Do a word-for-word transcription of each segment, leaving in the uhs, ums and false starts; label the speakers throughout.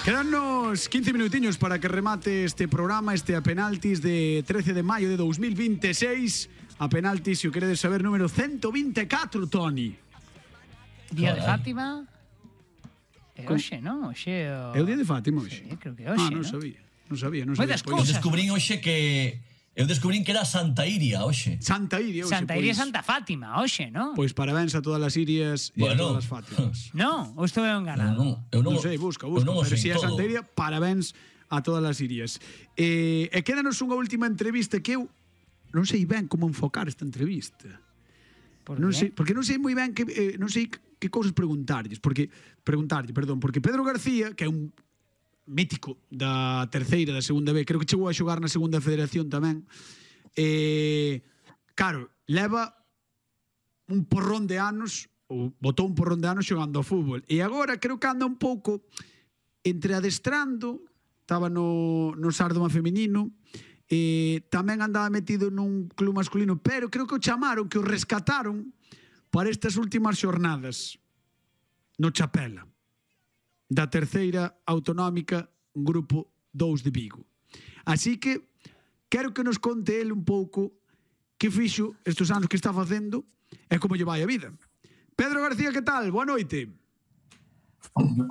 Speaker 1: Quedannos quince minutiños para que remate este programa, este a penaltis de trece de maio de dos mil veintiséis. A penaltis, se o queredes saber, número ciento veinticuatro, Toni.
Speaker 2: Día de Fátima. É hoxe, non? Hoxe o...
Speaker 1: É o día de Fátima hoxe?
Speaker 2: Sí, creo que é hoxe,
Speaker 1: Ah, non
Speaker 2: ¿no?
Speaker 1: sabía. Non sabía, non
Speaker 2: Moi
Speaker 1: sabía.
Speaker 2: das
Speaker 1: Pois-
Speaker 2: cousas.
Speaker 3: Eu descubrín hoxe que... Eu descubrín que era Santa Iria hoxe.
Speaker 1: Santa Iria hoxe,
Speaker 2: Santa Iria e
Speaker 1: pois-
Speaker 2: Santa Fátima, hoxe, non?
Speaker 1: Pois parabéns a todas as Irias e a
Speaker 3: Bueno.
Speaker 1: todas as Fátimas.
Speaker 2: Non, ou estou
Speaker 3: Eu
Speaker 2: enganado?
Speaker 3: non, eu non,
Speaker 1: Non sei, busca,
Speaker 3: eu
Speaker 1: busca.
Speaker 3: non o
Speaker 1: Pero
Speaker 3: sei
Speaker 1: se é
Speaker 3: todo.
Speaker 1: Santa Iria, parabéns a todas as Irias. E, e quédanos unha última entrevista que eu non sei ben como enfocar esta entrevista.
Speaker 2: Por
Speaker 1: Non
Speaker 2: qué?
Speaker 1: sei, porque non sei moi ben que eh, non sei que cousas preguntarlles, porque preguntarlle, perdón, porque Pedro García, que é un mítico da terceira, da segunda B, creo que chegou a xogar na segunda federación tamén. Eh, claro, leva un porrón de anos, ou botou un porrón de anos xogando ao fútbol. E agora creo que anda un pouco entre adestrando, estaba no, no Sárdoma feminino, eh, tamén andaba metido nun club masculino, pero creo que o chamaron, que o rescataron para estas últimas xornadas no Chapela, da terceira autonómica, grupo dous de Vigo. Así que quero que nos conte ele un pouco que fixo estes anos que está facendo e como lle vai a vida. Pedro García, que tal? Boa noite.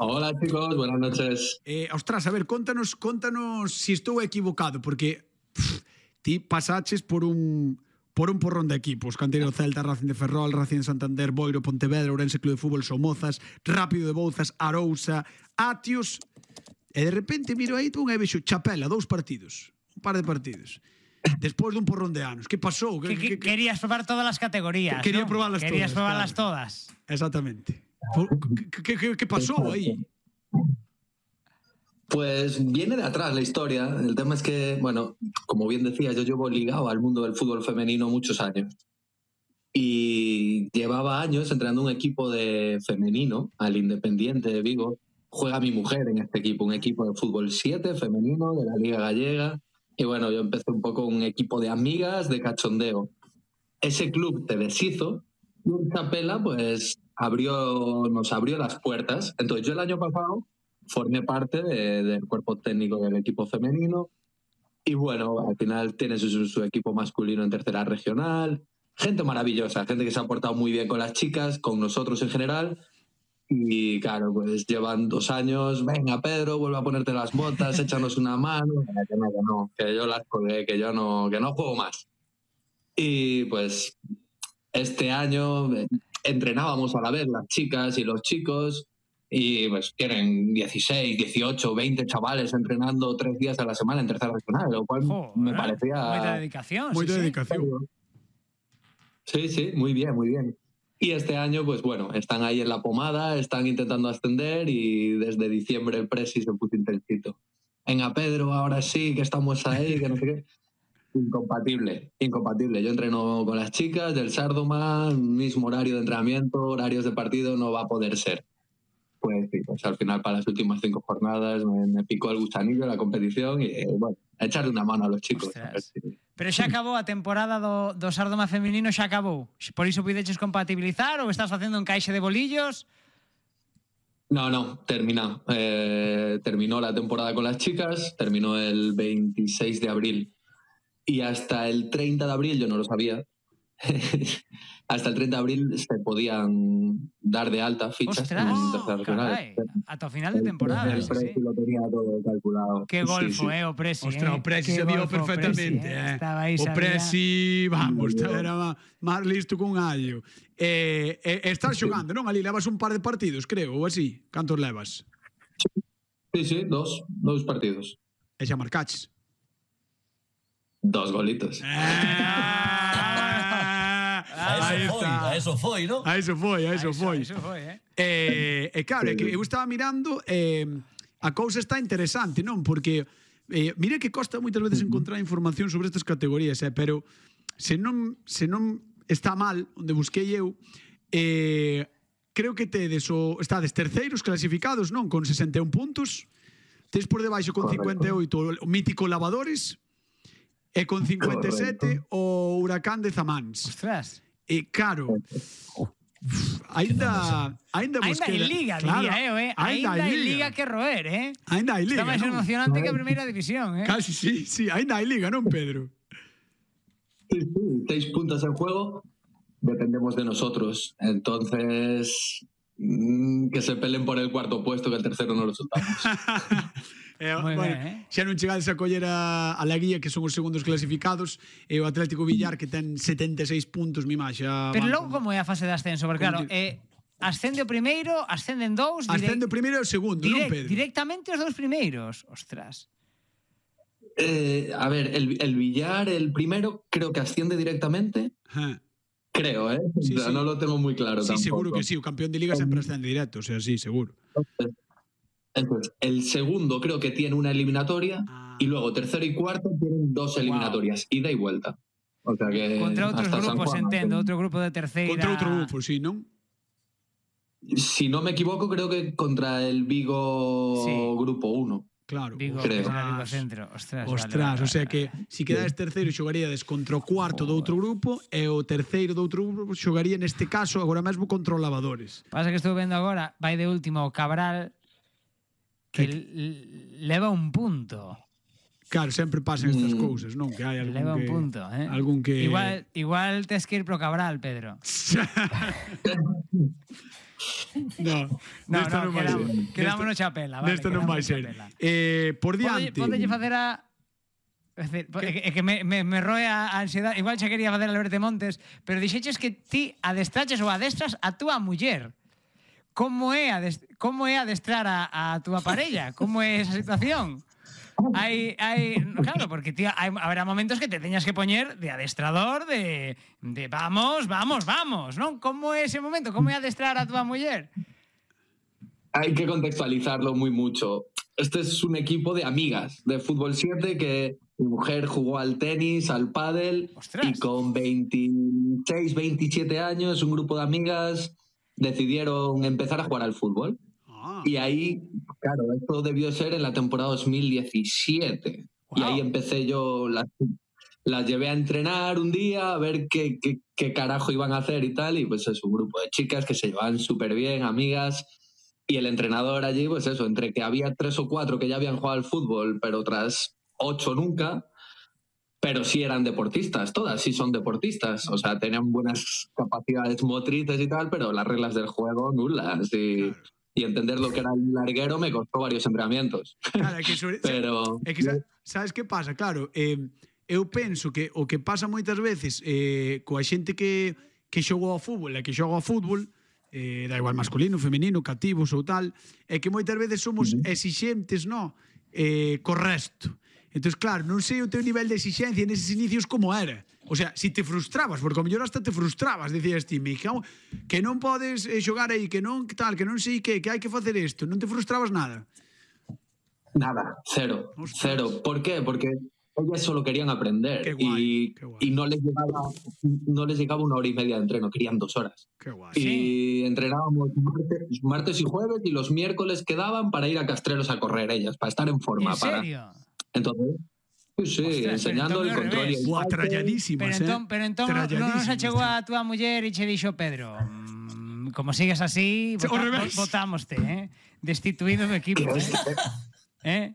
Speaker 4: Hola chicos, buenas noches.
Speaker 1: Eh, ostras, a ver, contanos, contanos si estou equivocado, porque pff, ti pasaches por un por un porrón de equipos, Canteiro Celta, Racing de Ferrol, Racing de Santander, Boiro, Pontevedra, Ourense Club de Fútbol, Somozas, Rápido de Bouzas, Arousa, Atios, e de repente miro aí un e vexo Chapela, dous partidos, un par de partidos. Despois dun porrón de anos. Que pasou?
Speaker 2: Que, que, querías probar todas as categorías,
Speaker 1: Quería
Speaker 2: ¿no?
Speaker 1: probarlas
Speaker 2: Querías
Speaker 1: todas,
Speaker 2: probarlas
Speaker 1: claro.
Speaker 2: todas.
Speaker 1: Exactamente. Que, que, que pasou aí?
Speaker 4: Pues viene de atrás la historia. El tema es que, bueno, como bien decías, yo llevo ligado al mundo del fútbol femenino muchos años. Y llevaba años entrenando un equipo de femenino, al Independiente de Vigo. Juega mi mujer en este equipo, un equipo de fútbol siete femenino de la Liga Gallega. Y bueno, yo empecé un poco un equipo de amigas, de cachondeo. Ese club se deshizo y en Chapela pues abrió, nos abrió las puertas. Entonces yo el año pasado formé parte de, del cuerpo técnico del equipo femenino y bueno, al final tiene su, su equipo masculino en tercera regional. Gente maravillosa, gente que se ha portado muy bien con las chicas, con nosotros en general. Y claro, pues llevan dos años, venga Pedro, vuelve a ponerte las botas, échanos una mano, que no, que no, que yo las colgué, que yo no, que no juego más. Y pues este año entrenábamos a la vez las chicas y los chicos y pues tienen dieciséis, dieciocho, veinte chavales entrenando tres días a la semana en tercera regional, lo cual
Speaker 2: Joder,
Speaker 4: me parecía...
Speaker 2: Moita dedicación.
Speaker 1: Moita
Speaker 2: sí, sí.
Speaker 1: dedicación.
Speaker 4: Sí, sí, muy bien, muy bien. Y este año, pues bueno, están ahí en la pomada, están intentando ascender y desde diciembre el presi se puso intensito. Venga, Pedro, ahora sí, que estamos ahí, que no sé qué. Incompatible, incompatible. Yo entreno con las chicas del Sárdoma, mismo horario de entrenamiento, horarios de partido, no va a poder ser. Pues sí, pues al final para las últimas cinco jornadas me, me picó el gusanillo de la competición y eh, bueno, a echarle una mano a los chicos. A ver si...
Speaker 2: Pero xa acabou a temporada do, do Sárdoma feminino, xa acabou. Por iso puideches compatibilizar ou estás facendo un caixe de bolillos?
Speaker 4: No, no, termina. Eh, terminó la temporada con las chicas, terminó el veintiséis de abril. Y hasta el treinta de abril, yo no lo sabía, hasta el treinta de abril se podían dar de alta fichas.
Speaker 2: Ostras,
Speaker 4: en tercera regional.
Speaker 2: carai, ata o final de temporada.
Speaker 4: El
Speaker 2: sí,
Speaker 4: Presi
Speaker 2: sí.
Speaker 4: lo tenía todo calculado.
Speaker 2: Que golfo,
Speaker 4: Sí, sí.
Speaker 2: eh, o Presi.
Speaker 1: Ostras,
Speaker 2: eh.
Speaker 1: o Presi
Speaker 2: Que
Speaker 1: sabía
Speaker 2: golfo,
Speaker 1: perfectamente,
Speaker 2: Presi,
Speaker 1: eh.
Speaker 2: Estaba aí,
Speaker 1: O
Speaker 2: sabía.
Speaker 1: Presi, vamos, era máis listo que un allo. Eh, eh, estás xogando, non? Ali levas un par de partidos, creo, ou así. Cantos levas?
Speaker 4: Sí, sí, dos, dos partidos.
Speaker 1: E xa marcaches.
Speaker 4: Dos golitos.
Speaker 1: Ah,
Speaker 3: A
Speaker 1: aí
Speaker 3: eso foi,
Speaker 1: está.
Speaker 3: a eso foi, ¿no?
Speaker 1: A eso foi, a eso
Speaker 2: Eso,
Speaker 1: foi.
Speaker 2: eso foi, eh.
Speaker 1: Eh, e claro, é que eu estaba mirando eh, a cousa está interesante, non? Porque eh, mira que costa moitas veces encontrar información sobre estas categorías, eh, pero se non, se non está mal onde busquei eu, eh, creo que tedes o, estades terceiros clasificados, non? Con sesenta e un puntos, tes por debaixo con cincuenta e oito o mítico Lavadores e con cincuenta e sete o Huracán de Zamáns.
Speaker 2: Ostras.
Speaker 1: E claro, Ainda, ainda vos
Speaker 2: Ainda hai
Speaker 1: queda-
Speaker 2: liga,
Speaker 1: claro,
Speaker 2: diría eu, eh? Ainda hai liga que roer, eh?
Speaker 1: Ainda hai liga,
Speaker 2: Está máis
Speaker 1: non?
Speaker 2: emocionante que a primeira división, eh?
Speaker 1: Casi, sí, sí, ainda hai liga, non, Pedro?
Speaker 4: Sí, sí, seis puntos en juego, dependemos de nosotros. Entonces, mmm, que se peleen por el cuarto puesto, que el tercero no lo soltamos.
Speaker 1: Eh,
Speaker 2: Moi
Speaker 1: bueno,
Speaker 2: ben, eh?
Speaker 1: xa non chegades a coller a, a la guía, que son os segundos clasificados, e o Atlético Villar, que ten setenta e seis puntos, mi má, xa...
Speaker 2: Pero
Speaker 1: van
Speaker 2: logo
Speaker 1: con-
Speaker 2: como é a fase de ascenso? Porque claro,
Speaker 1: Como
Speaker 2: eh, ascende o primeiro, ascenden dous, direct-
Speaker 1: Ascende o primeiro e o segundo, non,
Speaker 2: direct-
Speaker 1: Pedro?
Speaker 2: directamente os dous primeiros. Ostras.
Speaker 4: Eh, a ver, el, el Villar, el primero, creo que asciende directamente.
Speaker 1: Ja.
Speaker 4: Creo, ¿eh?
Speaker 1: Sí,
Speaker 4: O sea,
Speaker 1: sí.
Speaker 4: no lo tengo muy claro
Speaker 1: Sí,
Speaker 4: tampoco.
Speaker 1: seguro que sí, o campeón de liga sempre ascende directo, o sea, sí, seguro.
Speaker 4: Entonces, el segundo creo que tiene una eliminatoria
Speaker 1: Ah.
Speaker 4: y luego tercero y cuarto tienen dos eliminatorias, ida y vuelta. O sea que
Speaker 2: Contra outros
Speaker 4: hasta San
Speaker 2: grupos,
Speaker 4: Juan,
Speaker 2: entendo, outro grupo de terceira.
Speaker 1: Contra outro grupo, sí, non?
Speaker 4: Si no me equivoco, creo que contra el Vigo
Speaker 2: Sí.
Speaker 4: grupo uno.
Speaker 1: Claro.
Speaker 2: Vigo,
Speaker 4: Creo.
Speaker 2: que será Vigo Centro. Ostras,
Speaker 1: Ostras,
Speaker 2: vale, vale,
Speaker 1: o sea
Speaker 2: vale,
Speaker 1: que
Speaker 2: vale.
Speaker 1: si quedades terceiro xogaríades contra o cuarto do outro grupo e o terceiro do outro grupo xogaría neste caso agora mesmo contra o Lavadores.
Speaker 2: Pasa que estou vendo agora, vai de último o Cabral, que
Speaker 1: Que-
Speaker 2: l- leva un punto.
Speaker 1: Claro, sempre pasan estas
Speaker 4: Mm.
Speaker 1: cousas, non? Que hai algún
Speaker 2: Leva un
Speaker 1: que
Speaker 2: punto, eh?
Speaker 1: algún que
Speaker 2: Igual, igual tes que ir pro Cabral, Pedro.
Speaker 1: No,
Speaker 2: No,
Speaker 1: nesta
Speaker 2: no,
Speaker 1: non vai
Speaker 2: quedamos,
Speaker 1: ser.
Speaker 2: quedamos no
Speaker 1: Nesta-
Speaker 2: chapela, vale.
Speaker 1: Nesta non
Speaker 2: quedamos
Speaker 1: vai
Speaker 2: no
Speaker 1: ser.
Speaker 2: chapela.
Speaker 1: Eh, por
Speaker 2: Podelle,
Speaker 1: diante.
Speaker 2: podelle facer a... É dicir, é que, é que me, me, me roe a a ansiedade. Igual xa quería facer a Alberto Montes, pero dixeches que ti adestraches ou adestras a túa muller. Como é, adest como é adestrar a, a túa parella? Como é esa situación? Hai, hai, claro, porque tío, hai, haberá momentos que te teñas que poñer de adestrador, de, de vamos, vamos, vamos, non? Como é ese momento? Como é adestrar a túa muller?
Speaker 4: Hay que contextualizarlo muy mucho. Este es un equipo de amigas de fútbol siete que mi mujer jugó al tenis, al pádel.
Speaker 2: Ostras.
Speaker 4: Y con veintiséis, veintisiete años, un grupo de amigas decidieron empezar a jugar al fútbol.
Speaker 1: Ah,
Speaker 4: Y ahí, claro, esto debió ser en la temporada dos mil diecisiete. Y
Speaker 2: Wow.
Speaker 4: ahí empecé yo, las, las llevé a entrenar un día, a ver qué, qué, qué carajo iban a hacer y tal. Y pues es un grupo de chicas que se llevaban súper bien, amigas. Y el entrenador allí, pues eso, entre que había tres o cuatro que ya habían jugado al fútbol, pero otras ocho nunca, pero sí eran deportistas, todas sí son deportistas. O sea, tenían buenas capacidades motrices y tal, pero las reglas del juego nulas. Y,
Speaker 1: claro.
Speaker 4: y entender lo que era el larguero me costó varios entrenamientos.
Speaker 1: Claro, é que sobre,
Speaker 4: Pero
Speaker 1: é que sa- sabes que pasa? Claro, eh, eu penso que o que pasa moitas veces eh, coa xente que, que xogou ao fútbol e que xoga ao fútbol, eh, da igual masculino, femenino, cativos ou tal, é que moitas veces somos
Speaker 4: Ujú.
Speaker 1: exixentes, no? Eh, co resto. Entón, claro, non sei o teu nivel de exixencia neses inicios como era. O sea, si te frustrabas, porque ao mellor hasta te frustrabas, dicías ti, me cago, que non podes eh, xogar aí, que non que tal, que non sei que, que hai que facer isto, non te frustrabas nada.
Speaker 4: nada, cero,
Speaker 1: Ostras.
Speaker 4: cero. ¿Por qué? Porque ellas solo querían aprender
Speaker 1: Qué guay,
Speaker 4: y,
Speaker 1: qué guay.
Speaker 4: y no les llegaba no les llegaba una hora y media de entreno, querían dos horas.
Speaker 1: Que guai.
Speaker 4: Y entrenábamos martes, martes y jueves y los miércoles quedaban para ir a Castrelos a correr ellas, para estar en forma.
Speaker 2: En
Speaker 4: para
Speaker 2: serio?
Speaker 4: Entonces, sí, sí,
Speaker 2: Ostras,
Speaker 4: enseñando
Speaker 2: pero
Speaker 4: el
Speaker 2: entón ao
Speaker 4: control y
Speaker 2: revés.
Speaker 4: el
Speaker 1: Buah,
Speaker 4: salto.
Speaker 1: tralladísimas,
Speaker 2: Pero
Speaker 1: eh?
Speaker 2: entón, pero entón non, non se
Speaker 1: Tralladísimas,
Speaker 2: chegou
Speaker 1: tío.
Speaker 2: a túa muller e che dixo Pedro, mm, como sigues así,
Speaker 1: Ao
Speaker 2: vota,
Speaker 1: revés.
Speaker 2: votámoste, eh? Destituído do equipo, eh? eh?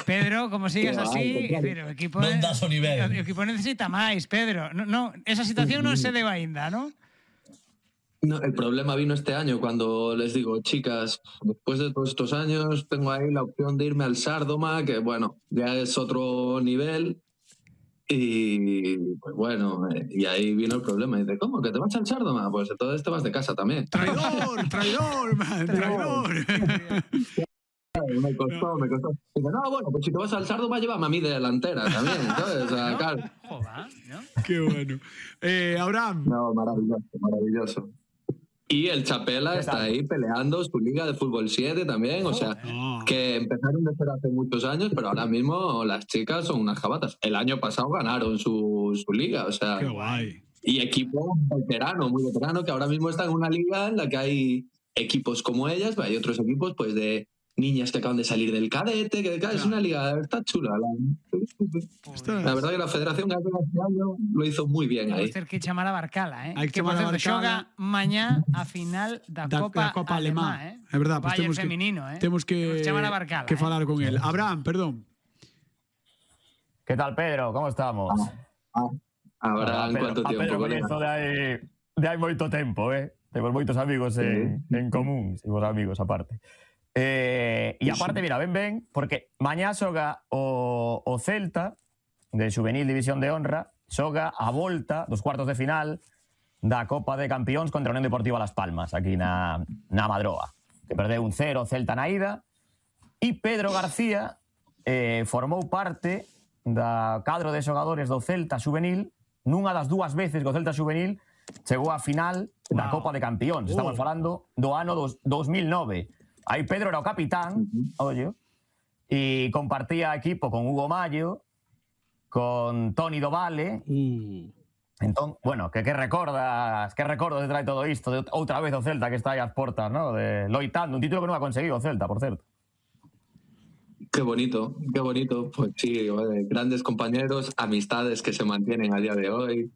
Speaker 2: Pedro, como sigues
Speaker 4: Que va,
Speaker 2: así,
Speaker 4: que
Speaker 2: é dicir, o equipo
Speaker 3: Non das o nivel.
Speaker 2: o equipo necesita máis, Pedro. No, no, esa situación non se deu aínda, non?
Speaker 4: No, el problema vino este año cuando les digo, chicas, después de todos estos años tengo ahí la opción de irme al Sárdoma, que bueno, ya es otro nivel. Y pues bueno, eh, y ahí vino el problema. Y dice, ¿cómo? ¿Que te vas al Sárdoma? Pues entonces te vas de casa también.
Speaker 1: Traidor, traidor, man, traidor.
Speaker 4: Me costó, me costó. Dice, no, bueno, pues si te vas al Sárdoma, llévame a mí de delantera también, ¿sabes? O sea,
Speaker 2: ¿No?
Speaker 4: claro.
Speaker 2: Joder, ¿no?
Speaker 1: Qué bueno. Eh, Abraham,
Speaker 4: No, maravilloso, maravilloso. Y el Chapela está ahí peleando su liga de fútbol siete también, o sea,
Speaker 1: no.
Speaker 4: que empezaron de cero hace muchos años, pero ahora mismo las chicas son unas jabatas. El año pasado ganaron su, su liga, o sea,
Speaker 1: Qué guay.
Speaker 4: y equipo veterano, muy veterano, que ahora mismo está en una liga en la que hay equipos como ellas, pero hay otros equipos pues de niñas que acaban de salir del cadete, que claro, es una liga, está chula. La, la verdad que la Federación lo hizo muy bien ahí.
Speaker 2: Hay que chamar a Barcala, eh?
Speaker 1: Hay que
Speaker 2: que por
Speaker 1: chamar a
Speaker 2: certo,
Speaker 1: Barcala.
Speaker 2: xoga mañá a final da,
Speaker 1: Da,
Speaker 2: Copa,
Speaker 1: da Copa Alemá,
Speaker 2: Alemá, eh?
Speaker 1: é verdad, pues
Speaker 2: Bayern
Speaker 1: temos que,
Speaker 2: feminino, eh?
Speaker 1: temos que,
Speaker 2: Temos que chamar a Barcala,
Speaker 1: que
Speaker 2: eh?
Speaker 1: falar con él. Abraham, perdón.
Speaker 5: ¿Qué tal, Pedro? ¿Cómo estamos?
Speaker 4: Ah, Ahora,
Speaker 5: Ah,
Speaker 4: en cuánto
Speaker 5: a
Speaker 4: tiempo,
Speaker 5: Pedro
Speaker 4: colega?
Speaker 5: coñezo de hai, de hai moito tempo, eh? Temos moitos amigos en, en común, somos amigos aparte. Eh, e aparte, mira, ven ben, porque mañá xoga o, o Celta, de Xuvenil División de Honra, xoga a volta dos cuartos de final da Copa de Campións contra a Unión Deportiva Las Palmas, aquí na, na Madroa, que perdeu un cero Celta na ida, e Pedro García eh, formou parte da cadro de xogadores do Celta Xuvenil nunha das dúas veces que o Celta Xuvenil chegou á final da
Speaker 1: Wow.
Speaker 5: Copa de Campións. Estamos
Speaker 1: Oh.
Speaker 5: falando do ano dos, dos mil nove. Aí Pedro era o capitán, ollo, e compartía equipo con Hugo Mallo, con Toni Dovale.
Speaker 1: Uh.
Speaker 5: Entón, bueno, que que recordas, que recordas de trae todo isto de outra vez o Celta que está aí ás portas, ¿no? De loitando, un título que non ha conseguido o Celta, por certo.
Speaker 4: Qué bonito, qué bonito. Pues sí, vale, grandes compañeros, amistades que se mantienen a día de hoy.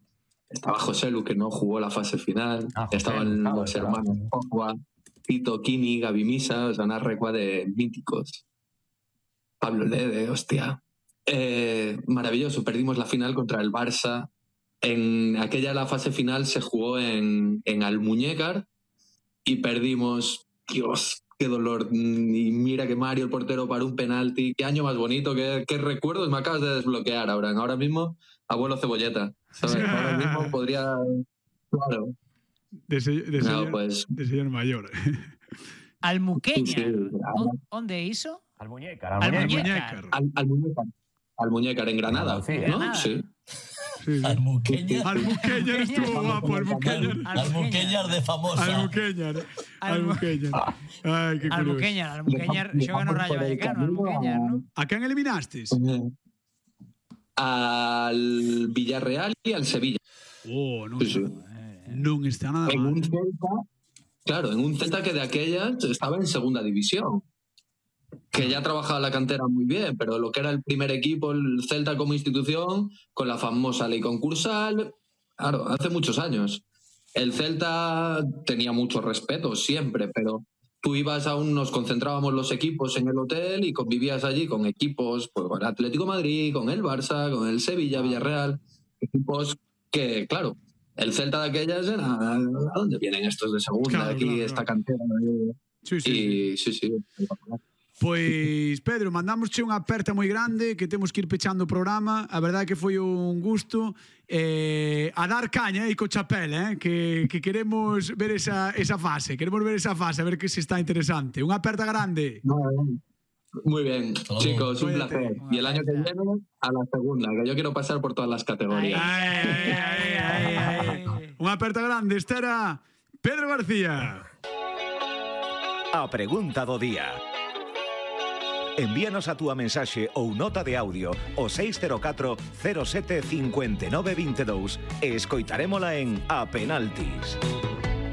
Speaker 4: Estaba José Lu, que no jugó la fase final.
Speaker 5: Ah, José
Speaker 4: Estaban
Speaker 5: Lu, claro,
Speaker 4: los
Speaker 5: claro.
Speaker 4: hermanos Pogba, Tito, Kini, Gaby Misa, o sea, una recua de míticos. Pablo Lede, hostia. Eh, maravilloso, perdimos la final contra el Barça. En aquella la fase final se jugó en, en Almuñécar y perdimos. Dios, qué dolor. Y mira que Mario, el portero, paró un penalti. Qué año más bonito, qué, qué recuerdos me acabas de desbloquear, ahora. Ahora mismo, abuelo Cebolleta. ¿Sabes? Ahora mismo podría... Claro.
Speaker 1: De, se, de,
Speaker 4: No,
Speaker 1: señor,
Speaker 4: pues...
Speaker 1: de señor mayor.
Speaker 2: Almuqueña.
Speaker 4: Sí, sí.
Speaker 2: On- Onde iso?
Speaker 5: Almuñécar,
Speaker 2: Almuñécar.
Speaker 1: Almuñécar.
Speaker 4: Al, Almuñécar. Almuñécar, en Granada.
Speaker 5: Andalucía.
Speaker 4: ¿no?
Speaker 2: Granada.
Speaker 4: Sí.
Speaker 1: Sí, sí.
Speaker 3: Almuqueña.
Speaker 1: Almuqueñar estuvo guapo, Almuqueñar.
Speaker 3: Almuqueñar de famosa.
Speaker 1: Almuqueñar. Almuqueñar. Ay, qué curioso.
Speaker 2: Almuqueñar, Almuqueñar, xoga no Rayo Vallecano, Almuqueñar, ¿no?
Speaker 1: ¿A quién eliminastes?
Speaker 4: Al Villarreal y al Sevilla.
Speaker 1: Oh, non,
Speaker 4: Sí, sí.
Speaker 1: non está nada
Speaker 4: En
Speaker 1: mal.
Speaker 4: un Celta, claro, en un Celta que de aquellas estaba en segunda división. Que ya trabajaba la cantera muy bien, pero lo que era el primer equipo, el Celta como institución, con la famosa ley concursal, claro, hace muchos años. El Celta tenía mucho respeto siempre, pero tú ibas a un, nos concentrábamos los equipos en el hotel y convivías allí con equipos, pues con el Atlético de Madrid, con el Barça, con el Sevilla, Villarreal, equipos que, claro, el Celta de aquellas era, ¿a dónde vienen estos de segunda?
Speaker 1: Claro,
Speaker 4: Aquí
Speaker 1: claro,
Speaker 4: esta
Speaker 1: claro.
Speaker 4: cantera.
Speaker 1: Sí, sí,
Speaker 4: Y sí, sí.
Speaker 1: Pois, Pedro, mandamosche unha aperta moi grande que temos que ir pechando o programa. A verdade é que foi un gusto eh, a dar caña e co chapel, eh, que, que queremos ver esa, esa fase. Queremos ver esa fase, a ver que se está interesante. Unha aperta grande.
Speaker 4: Muy bien,
Speaker 3: Hasta luego.
Speaker 4: chicos, un
Speaker 1: Cuídate.
Speaker 4: placer. Y el año que viene a la segunda, que yo quiero pasar por todas las categorías.
Speaker 1: Ai, ai, ai, ai, ai. Unha aperta grande. Esta era Pedro García.
Speaker 6: A pregunta do día. Envíanos a túa mensaxe ou nota de audio ao seis cero catro cero sete cinco nove dos dous e escoitarémola en A Penaltis.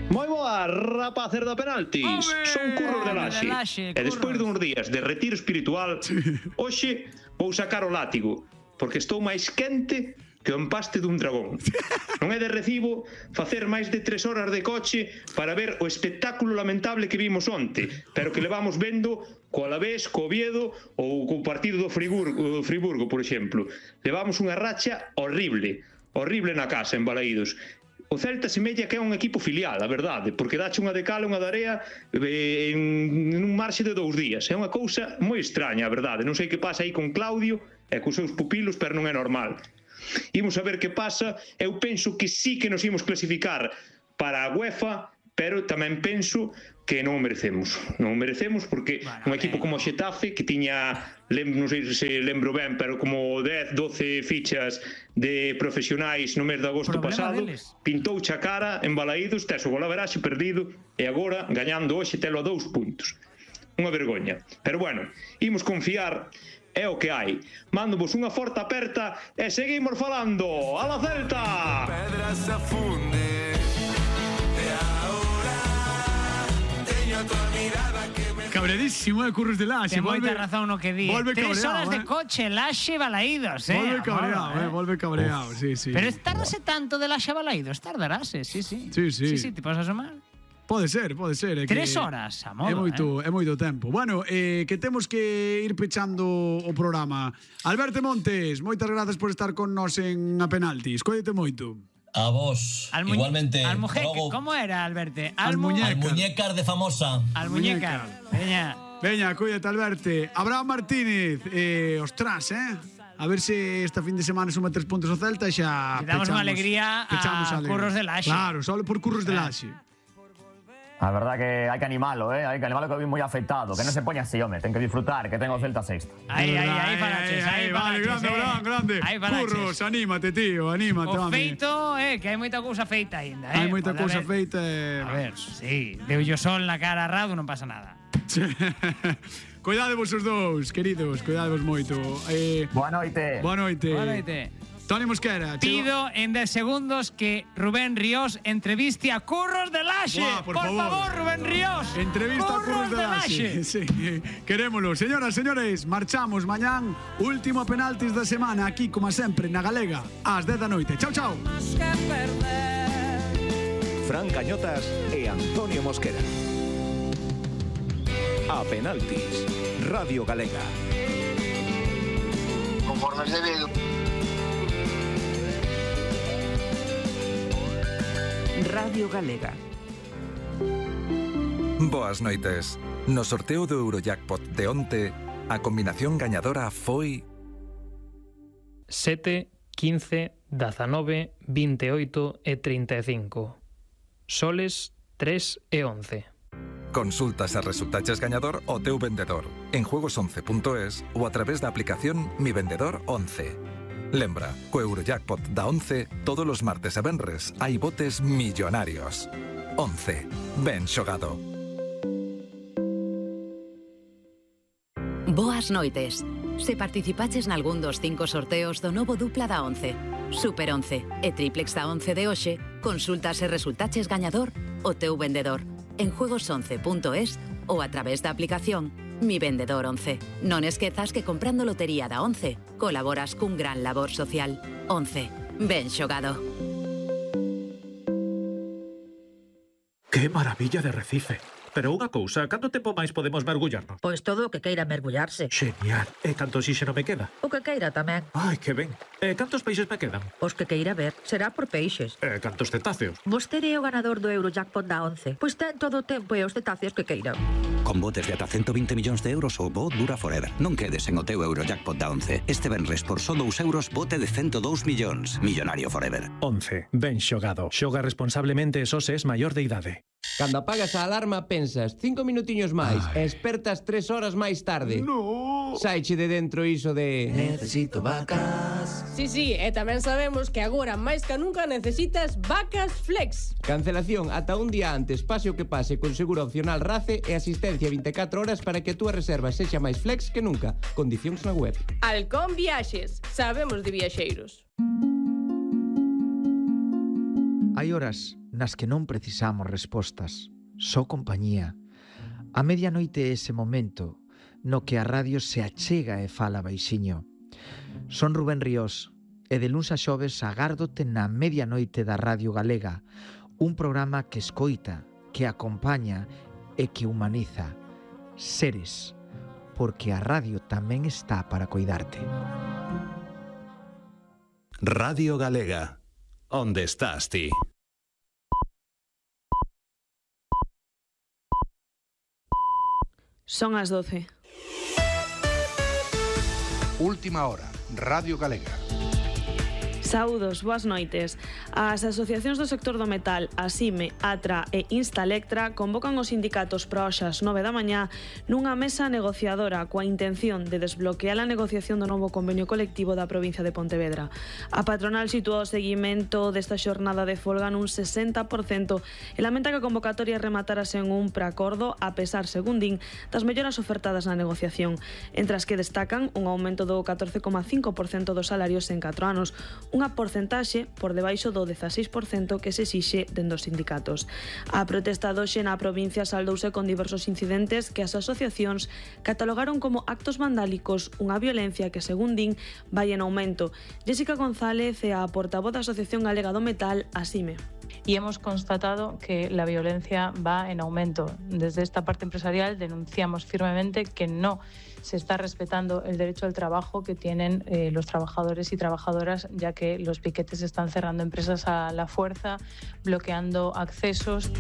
Speaker 7: Moi boa, rapacer da Penaltis.
Speaker 2: Home,
Speaker 7: Son Curros de
Speaker 2: de
Speaker 7: Laxe.
Speaker 2: Laxe,
Speaker 7: E despois
Speaker 2: Curros.
Speaker 7: duns días de retiro espiritual, hoxe vou sacar o látigo, porque estou máis quente que o empaste dun dragón. Non é de recibo facer máis de tres horas de coche para ver o espectáculo lamentable que vimos onte, pero que levamos vendo co Alavés, co Oviedo ou co partido do Friburgo, do Friburgo, por exemplo. Levamos unha racha horrible, horrible na casa, en Balaídos. O Celta semella que é un equipo filial, a verdade, porque dache unha de cal e unha de area eh, en, en un marxe de dous días. É unha cousa moi extraña, a verdade. Non sei que pasa aí con Claudio e cos seus pupilos, pero non é normal. Imos a ver que pasa. Eu penso que sí que nos imos clasificar para a UEFA, pero tamén penso que non o merecemos. Non o merecemos porque
Speaker 2: Bueno,
Speaker 7: un equipo como o Xetafe, que tiña, lem, non sei se lembro ben, pero como dez, doce fichas de profesionais no mes de agosto
Speaker 2: Problema
Speaker 7: pasado,
Speaker 2: deles.
Speaker 7: pintouche a cara en Balaídos, tes o golaveraxe perdido e agora, gañando hoxe, telo a dous puntos. Unha vergoña. Pero bueno, imos confiar, é o que hai. Mándovos unha forte aperta e seguimos falando. ¡A la Celta!
Speaker 8: Pedra se funde. E ahora teño a tua mirada que me
Speaker 1: cabreadísimo, eh, Curros de Laxe.
Speaker 2: Ten moita razón no que di.
Speaker 1: Volve
Speaker 2: Tres
Speaker 1: cabreado,
Speaker 2: horas de
Speaker 1: eh.
Speaker 2: coche, Laxe, Balaídos, eh.
Speaker 1: Volve cabreado,
Speaker 2: Amor,
Speaker 1: eh, volve cabreado, sí, sí.
Speaker 2: Pero tardase tanto de Laxe a Balaídos, tardarase, sí, sí.
Speaker 1: Sí, sí.
Speaker 2: Sí, sí, te podes asomar.
Speaker 1: Pode ser, pode ser. É que
Speaker 2: Tres horas, a modo,
Speaker 1: é moito,
Speaker 2: eh.
Speaker 1: é moito tempo. Bueno, eh, que temos que ir pechando o programa. Alberto Montes, moitas grazas por estar con nós en A Penaltis. Cóidete moito.
Speaker 3: A vos,
Speaker 2: Al muñe-
Speaker 3: igualmente.
Speaker 2: Almujeque,
Speaker 3: Logo,
Speaker 2: ¿cómo era, Alberto?
Speaker 1: Al muñeca.
Speaker 3: al muñecar de famosa.
Speaker 2: Al muñeca. Veña.
Speaker 1: Veña, cuídate, Alberto. Abraham Martínez, eh, ostras, eh? A ver se esta fin de semana suma tres puntos o Celta e xa
Speaker 2: Le damos
Speaker 1: pechamos,
Speaker 2: unha alegría a
Speaker 1: pechamos alegría.
Speaker 2: Curros de Laxe.
Speaker 1: Claro, só por Curros de
Speaker 2: Ah.
Speaker 1: Laxe.
Speaker 5: A verdad que hai que animalo, eh? Hai que animalo que vi moi afectado. Que non se poña así, home. Ten que disfrutar, que ten o Celta sexto.
Speaker 2: Aí, aí, aí,
Speaker 1: Verdad,
Speaker 2: falaches,
Speaker 1: eh,
Speaker 2: aí,
Speaker 1: Vale,
Speaker 2: falaches,
Speaker 1: grande,
Speaker 2: eh.
Speaker 1: Abraham, grande.
Speaker 2: Aí falaches.
Speaker 1: Curros, anímate, tío, anímate,
Speaker 2: O
Speaker 1: home.
Speaker 2: feito, eh, que hai moita cousa feita aínda, eh.
Speaker 1: Hai moita
Speaker 2: Pode
Speaker 1: cousa
Speaker 2: haber-
Speaker 1: feita e...
Speaker 2: A ver, sí, deu yo sol na cara a Radu, non pasa nada.
Speaker 1: Cuidade vos os dous, queridos, cuidadevos moito. Eh,
Speaker 5: Boa noite.
Speaker 1: boa noite.
Speaker 2: Boa noite.
Speaker 1: Toni Mosquera. chego-
Speaker 2: Pido en dez segundos que Rubén Ríos entreviste a Curros de Laxe.
Speaker 1: Buah, por favor.
Speaker 2: favor, Rubén Ríos.
Speaker 1: Entrevista a Curros de Laxe. Sí, querémolo. Señoras, señores, marchamos mañán. Último penaltis da semana aquí, como sempre, na Galega, ás dez da noite. Chao, chao.
Speaker 6: Fran Cañotas e Antonio Mosquera. A Penaltis, Radio Galega.
Speaker 8: Conforme se ve.
Speaker 9: Radio Galega.
Speaker 10: Boas noites. No sorteo do Eurojackpot de onte, a combinación gañadora foi
Speaker 11: sete, quince, dezanove, veintioito e trinta e cinco. Soles tres e once.
Speaker 10: Consultas e resultaches gañador o teu vendedor en juegos once punto es ou a través da aplicación Mi Vendedor once. Lembra, co Eurojackpot da once, todos os martes e venres hai botes millonarios. once. Ben xogado.
Speaker 12: Boas noites. Se participaches nalgún dos cinco sorteos do novo dupla da once, Super once e Triplex da once de hoxe, consultas e resultaches gañador o teu vendedor en juegos once punto es ou a través da aplicación Mi Vendedor once. Non esquezas que comprando lotería da once colaboras cun gran labor social. once. Ben xogado.
Speaker 13: Que maravilla de Recife. Pero unha cousa, canto tempo máis podemos mergullarnos?
Speaker 14: Pois todo o que queira mergullarse.
Speaker 13: Xenial. E canto oxíxeno me queda?
Speaker 14: O que queira tamén.
Speaker 13: Ai, que ben. E cantos peixes me quedan?
Speaker 14: Os que queira ver. Será por peixes.
Speaker 13: E cantos cetáceos?
Speaker 14: Vostede é o ganador do Eurojackpot da once. Pois ten todo o tempo e os cetáceos que queira.
Speaker 15: Con botes de ata ciento veinte millóns de euros o bo dura forever. Non quedes en o teu Eurojackpot da once. Este venres por só dous euros bote de cento dous millóns. Millonario forever.
Speaker 16: once. Ben xogado. Xoga responsablemente e só se es maior de idade.
Speaker 17: Cando apagas a alarma pensas cinco minutiños máis e espertas tres horas máis tarde.
Speaker 1: No.
Speaker 17: Saiche de dentro iso de necesito vacas.
Speaker 18: Sí, sí, e tamén sabemos que agora máis que nunca necesitas vacas flex.
Speaker 17: Cancelación ata un día antes, pase o que pase, con seguro opcional RACE e asistencia vinte e catro horas para que a túa reserva sexa máis flex que nunca. Condicións na web.
Speaker 18: Halcón Viaxes, sabemos de viaxeiros.
Speaker 19: Hai horas nas que non precisamos respostas, só compañía. A medianoite é ese momento no que a radio se achega e fala baixiño. Son Rubén Ríos e de luns a xoves agárdote na medianoite da Radio Galega, un programa que escoita, que acompaña e que humaniza. Seres, porque a radio tamén está para coidarte.
Speaker 6: Radio Galega. Onde estás ti?
Speaker 20: Son as doce.
Speaker 21: Última hora, Radio Galega.
Speaker 20: Saúdos, boas noites. As asociacións do sector do metal, ASIME, ATRA e Instalectra convocan os sindicatos para hoxas nove da mañá nunha mesa negociadora coa intención de desbloquear a negociación do novo convenio colectivo da provincia de Pontevedra. A patronal sitúa o seguimento desta xornada de folga nun sesenta por cento e lamenta que a convocatoria rematara sen un preacordo a pesar, según din, das melloras ofertadas na negociación, entre as que destacan un aumento do catorce coma cinco por cento dos salarios en catro anos, unha unha porcentaxe por debaixo do dezaseis por cento que se exixe dende os sindicatos. A protesta doxe na provincia saldouse con diversos incidentes que as asociacións catalogaron como actos vandálicos, unha violencia que, según din, vai en aumento. Jessica González é a portavoz da Asociación Galega do Metal, ASIME.
Speaker 8: Y hemos constatado que la violencia va en aumento. Desde esta parte empresarial denunciamos firmemente que no se está respetando el derecho al trabajo que tienen eh, los trabajadores y trabajadoras, ya que los piquetes están cerrando empresas a la fuerza, bloqueando accesos.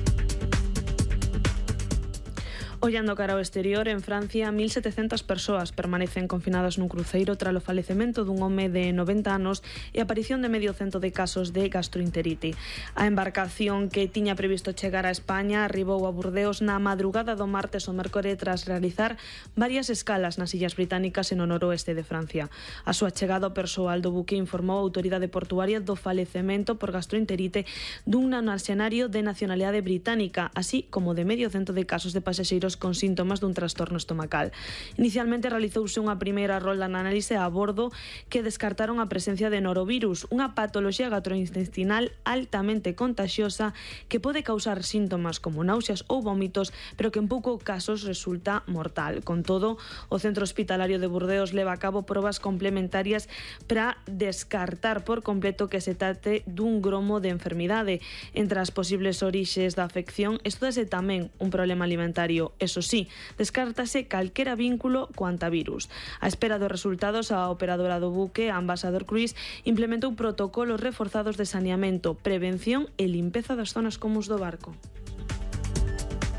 Speaker 20: Ollando cara ao exterior, en Francia, mil setecentas persoas permanecen confinadas nun cruceiro tras o falecemento dun home de noventa anos e a aparición de medio cento de casos de gastroenterite. A embarcación que tiña previsto chegar a España arribou a Burdeos na madrugada do martes ao mércore tras realizar varias escalas nas illas británicas e no noroeste de Francia. A súa chegada ao persoal do buque informou a autoridade portuaria do falecemento por gastroenterite dun nacionario de nacionalidade británica, así como de medio cento de casos de pasaxeiros con síntomas dun trastorno estomacal. Inicialmente realizouse unha primeira rolda na análise a bordo que descartaron a presencia de norovirus, unha patoloxía gastrointestinal altamente contagiosa que pode causar síntomas como náuseas ou vómitos, pero que en poucos casos resulta mortal. Con todo, o Centro Hospitalario de Burdeos leva a cabo probas complementarias para descartar por completo que se trate dun gromo de enfermidade. Entre as posibles orixes da afección, estúdase tamén un problema alimentario. Eso sí, descártase calquera vínculo co antivirus. A espera dos resultados, a operadora do buque, a Ambassador Cruise, implementou protocolos reforzados de saneamento, prevención e limpeza das zonas comuns do barco.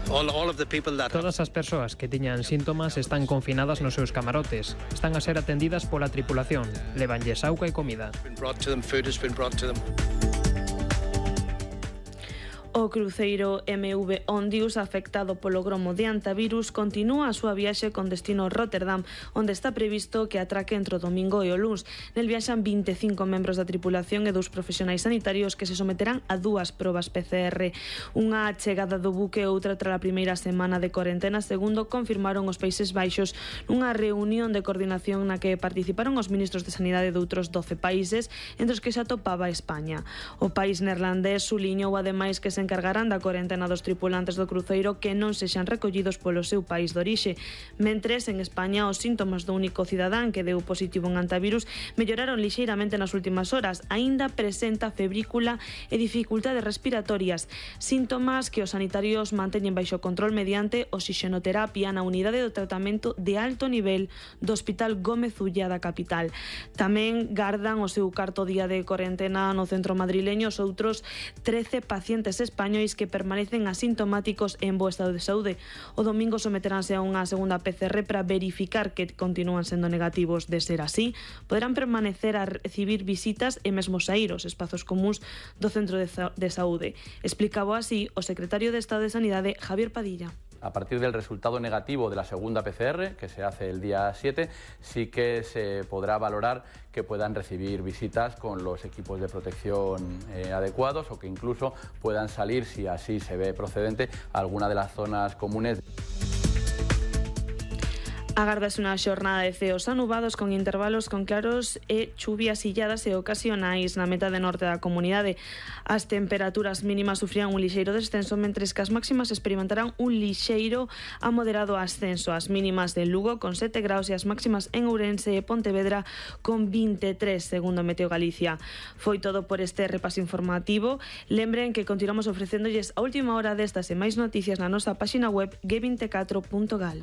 Speaker 11: Todas as persoas que tiñan síntomas están confinadas nos seus camarotes. Están a ser atendidas pola tripulación. Levanlles auga e comida.
Speaker 20: O cruceiro M V Ondius, afectado polo gromo de antivirus, continúa a súa viaxe con destino Rotterdam, onde está previsto que atraque entre o domingo e o luns. Nel viaxan vinte e cinco membros da tripulación e dous profesionais sanitarios que se someterán a dúas probas P C R. Unha chegada do buque e outra tras a primeira semana de corentena, segundo confirmaron os Países Baixos nunha reunión de coordinación na que participaron os ministros de Sanidade de outros doce países, entre os que se atopaba España. O país neerlandés suliñou ademais que se encargarán da corentena dos tripulantes do cruceiro que non sexan recollidos polo seu país de orixe. Mentres, en España, os síntomas do único cidadán que deu positivo en antivirus melloraron lixeiramente nas últimas horas. Aínda presenta febrícula e dificultades respiratorias, síntomas que os sanitarios manteñen baixo control mediante oxixenoterapia na unidade do tratamento de alto nivel do Hospital Gómez Ulla da capital. Tamén gardan o seu cuarto día de corentena no centro madrileño os outros trece pacientes españois que permanecen asintomáticos en bo estado de saúde. O domingo someteránse a unha segunda P C R para verificar que continúan sendo negativos. De ser así, poderán permanecer a recibir visitas e mesmo saír aos espazos comuns do centro de, de saúde. Explicaba así o secretario de Estado de Sanidade, Javier Padilla.
Speaker 22: A partir del resultado negativo de la segunda P C R, que se hace el día siete, sí que se podrá valorar que puedan recibir visitas con los equipos de protección eh, adecuados o que incluso puedan salir, si así se ve procedente, a alguna de las zonas comunes.
Speaker 20: Agardase unha xornada de ceos anubados con intervalos con claros e chuvias illadas e ocasionais na metade norte da comunidade. As temperaturas mínimas sufrían un lixeiro descenso, mentres que as máximas experimentarán un lixeiro a moderado ascenso. As mínimas de Lugo con sete graus e as máximas en Ourense e Pontevedra con vinte e tres, segundo Meteo Galicia. Foi todo por este repaso informativo. Lembren que continuamos ofrecéndolles a última hora destas e máis noticias na nosa páxina web g vinte e catro punto gal.